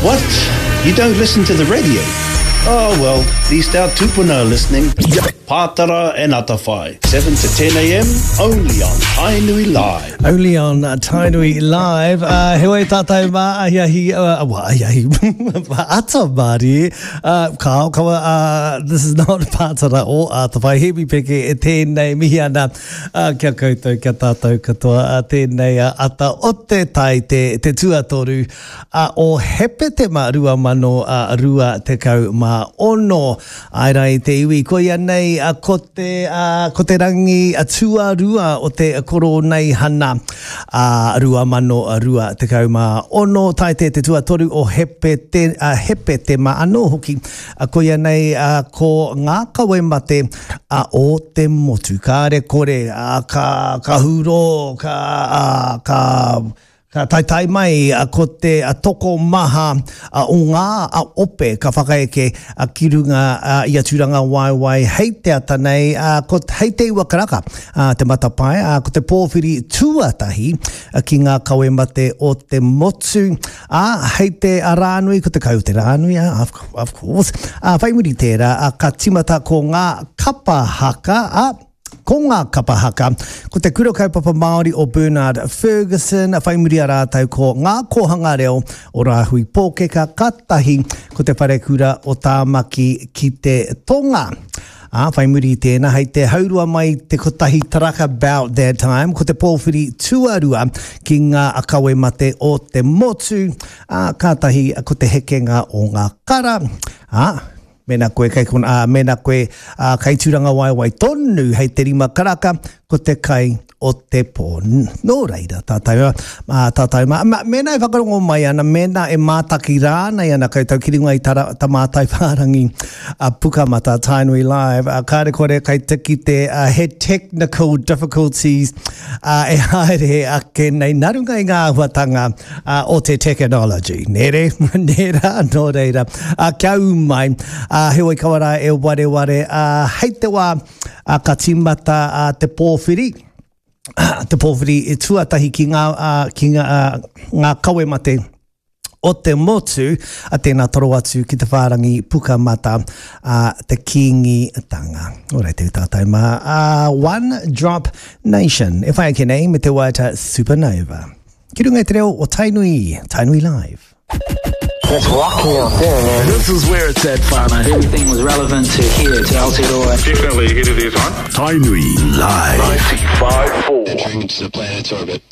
What? You don't listen to the radio? Oh well, at least our tupuna are listening. Pātara and Atawhai, 7 to 10 a.m. only on Tainui Live. Only on Tainui Live. Uh, heoi tātou mā ahiahi, uh, well, ahiahi, ata mārie. Uh, kao, kawa, uh, this is not Pātara o Atawhai. Hemi Peke e tēnei mihi ana uh, kia koutou, kia tātou katoa. Uh, tēnei uh, ata o te tai, te, te tuatoru uh, o Hepetema 2026. Āe rā i te iwi, koia nei ko te, ko te rangi tuarua o te Koroneihana 2026, tae te te tuatoru o Hepete, Hepetema anō hoki, koia nei ko ngā kawe mate o te motu. Kāre kore, ka, ka hurō, ka, ka, Ka taetae mai ko te tokomaha o ngā ope ka whakaeke ki runga i a Tūrangawaewae hei te ata nei, ko hei te iwa karaka te matapae, ko te pōwhiri tuatahi ki ngā kawe mate o te motu, ā, hei te Rānui, ko te kai o te Rānui, of course, ā, whai muri tērā, ka tīmata ko ngā kapa haka, ā, Ko ngā kapa haka, ko te Kura Kaupapa Māori o Bernard Fergusson, whai muri a rātou ko Ngā Kōhanga Reo o Rāhui Pōkeka, kātahi ko Te Wharekura o Tāmaki ki te Tonga. Ā, whai muri i tēnā, hei te haurua mai te kotahi taraka about that time, ko te pōwhiri tuarua ki ngā kawe mate o te motu, ā, kātahi ko te hekenga o ngā kara, ā, Mēnā koe kei konā, ā, mēnā koe, ā, kei Tūrangawaewae tonu hei te rima karaka, ko te kai o te pō. Nō reira, tātou, ā, tātou mā, mā, mēnā e whakarongo mai ana, mēnā e mātaki rānei ana koutou ki runga i tā, tā mātai whārangi a Pukamata, Tainui Live, ā, kāre kore kei te kite, ā, he technical difficulties, ā, e haere ake nei nā runga i ngā āhuatanga, uh, o te technology. Nē re, nē rā, nō reira. Uh, kia ū mai, uh, heoi kawa rā e wareware, uh, hei te wā uh, ka tīmata uh, te pōwhiri, uh, te pōwhiri e tuatahi ki ngā, uh, ki ngā, uh, ngā kawe mate o te motu, a tēnā toro atu ki te whārangi pukamata a te Kīngitanga. Ora te tātou mā, a One Drop Nation, e whai ake nei me te waiata Supernova. Ki runga i te reo o Tainui, Tainui Live. That's rocking out there, man. This is where it's at, whānau. Everything was relevant to here, to Aotearoa. Definitely ahead of their time. Tainui Live. 95.4. Entering the planet's orbit.